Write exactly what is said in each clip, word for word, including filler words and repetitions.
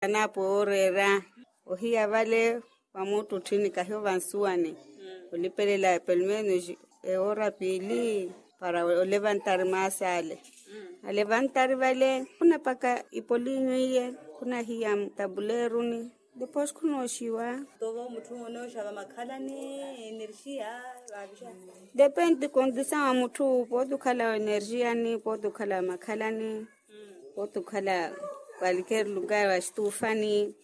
Anaapo ooreera ohiya vale, wa muttutthini kahiyo vansuwani, olipelela pelumenus ewoora piili para olevantari maasi ale. Alevantari vale khunapaka ipolinyu iye, khunahiya tabuleeruni. Depois khunooxiwa. Tovo mutthu onooxa vamakhalani energia. Vavixa. Depende condição wa mutthu, pooti okhala energiani, pooti okhala makhalani, pooti okhala qualquer lugar wa xitufani.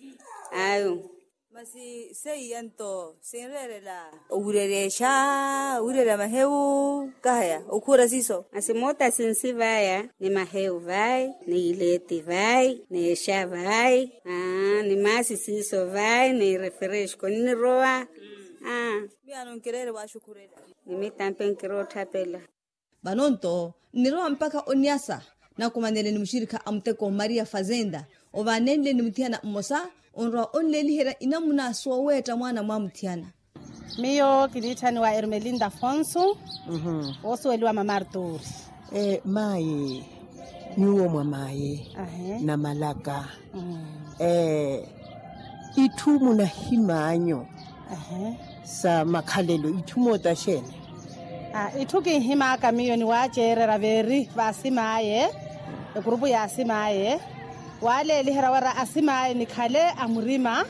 Ayo. Masi seiya nto sinreerela owirerexa, owirerexa mahewu, kahaya okhuwera siiso. Masi moota sinsi vaya ni mahewu vayi, ni ileeti vayi, ni exa vayi, ni maasi siiso vayi, ni refresco nnirowa. Miyo anonkireere waxukhurela. Ni mitampe nkirootthaphela. Vano nto nnirowa mpakha oniasa, nakumanele ni muxirikha a muteko maria fazenda, ovaanenle ni muthiyana mmosa onrowa onleeliherya inamuna sooweetta mwaana mwa muthiyana. Miyo kiniitthaniwa ermelinda afonso. Woosuweliwa mama arturi. Mayi, nyuwo mwa mayi, namalaka, itthu munahim'anyu sa makhalelo itthu moota xeeni? Itthu kinhim'aka miyo ni waaceererya veeri v'asim'aye, ekurupu y'asim'aye, waaleeliherya wira asim'aye nikhale a murima,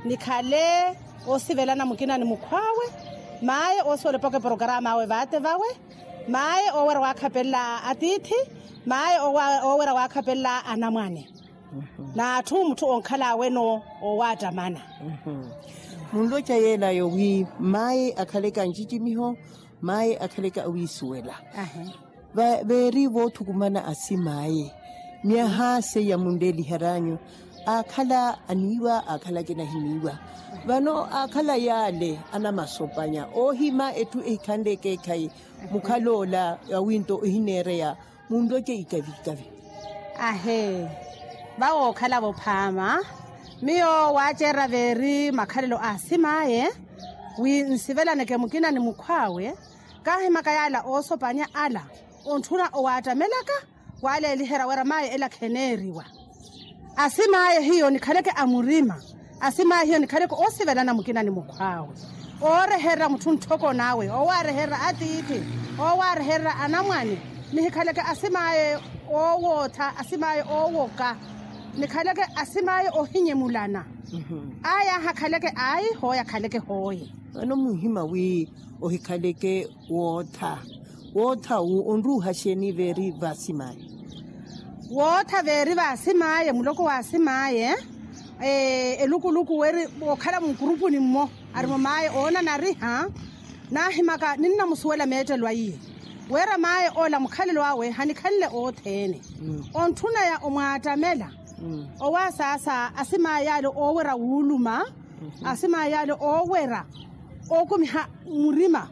nikhale oosivelana mukina ni mukhw'awe, maye oosiwela opaka eporokaram'awe vaate vawe, maye oowera waakhapelela atiithi, maye oowera waakhapelela anamwane, n'atthu mutthu onkhala weno owaattamana. Munloca yeelayo wi maye akhaleke a ncicimiho, maye akhaleke awiisuwela. Veeri voothukumana asim'aye, myaha seiya munleelihery'anyu, aakhala aniiwa aakhala akinahiniiwa. Vano aakhala yaale anamasopanya oohima etthu ehikhanle ekeekhayi, mukhal'ola awinto ohineereya, munloce ikavi ikavi. Ahee, vawookhala-vo phaama, miyo waaceererya veeri makhalelo a asim'aye, wi nsivelaneke mukina ni mukhw'awe, kaahimaka yaala oosopanya ala, ontthuna owaattamelaka, waaleeliherya wira maye ela kheneeriwa. Asim'aye hiyo nikhaleke a murima, asim'aye hiyo nikhaleke oosivelana mukina ni mukhw'awe, oorehererya mutthu ntthoko n'awe, oowaarehererya atiithi, oowaarehererya anamwane, nihikhaleke asim'aye oowootha, asim'aye oowoka, nikhaleke asim'aye ohinyemulana. Aya aahakhaleke ayi, hooya akhaleke hooye. Vano muhima wi ohikhaleke wootha, wootha wu onruuha xeeni veeri v'asim'aye? Wootha veeri v'asim'aye, muloko w'asim'aye, elukuluku weri okhala munkurupuni mmo, arimo maye oonanariha, naahimaka ninnamusuwela meettelo aiye, wira maye ola mukhalelo awe hanikhanle othene, ontthunaya omwaattamela. Owaasaasa asim'aye yaale oowera wuuluma, asim'aye yaale oowera ookumiha murima,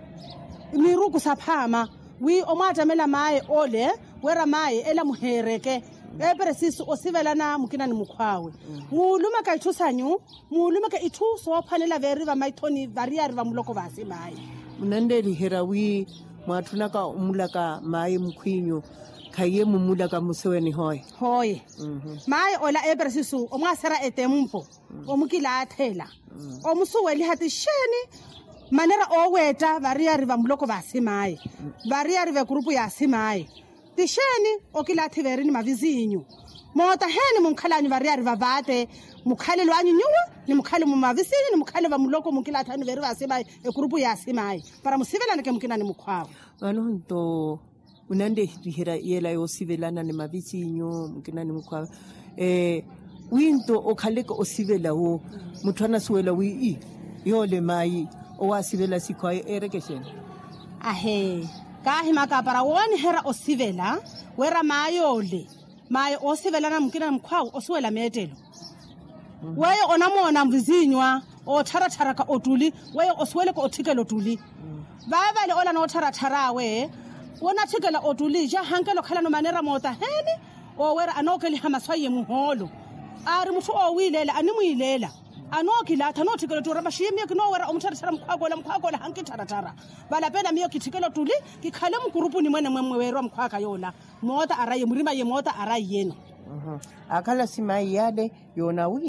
miiruku saphaama, wi omwaattamela maye ole, wira maye ela muheereke, eperesisu osivelana mukina ni mukhw'awe, muulumeke itthu sanyu, muulumeke itthu soophwanela veeri vamaithoni variyari vamuloko v'asim'aye. Munanleeliherya wi mwaatthunaka omulaka maye mukhw'inyu, khaiye mumulaka museweni hooye? Hooye. Maye ola eperesisu omwaaserya etempo, omukilaathela, omusuweliha ti xeeni manera ooweetta variyari vamuloko v'asim'aye, variyari v'ekurupu y'asim'aye, ti xeeni okilaathi veerini mavizinyu, moota heeni munkhal'anyu variyari vavaate, mukhalelo anyu nyuwo, ni mukhale mumavizinyu ni mukhale vamuloko munkilaathi anyu veeri v'asim'aye, ekurupu y'asim'aye, para musivelaneke mukina ni mukhw'awe. Vano nto munanleeliherya yeela yoosivelana ni mavizinyu mukina ni mukhw'awe, wi nto okhaleke osivela wo, mutthu anasuwela wi yoole mayi owaasivela sikhw'aye eereke xeeni? Ahee, kaahimaka para wooniherya osivela, wira mayi ole, mayi oosivelana mukina ni mukhw'awe osuwela meettelo. Weyo onamoona mvizinyu a ottharatharaka ottuli, weyo osuweleke otthikela ottuli. Vaavale ola noottharatthar'awe, wonatthikela ottuli ja hankela okhalano manera moota heeni, oowera anookeliha masu aiye muhoolo, aari mutthu oowiileela animwiileela, anookilaatha anootthikela ottuli oramaxiye miyo kinoowerya omuttharatthara mukhw'aka ola mukhw'aka ola hankittharatthara. Valapela miyo kitthikela ottuli, kikhale mukurupuni mwene mwemmwe weeriwa mukhw'aka yoola, moota araiye murima iye moota araiyeno. Akhala simai yale yoonawi.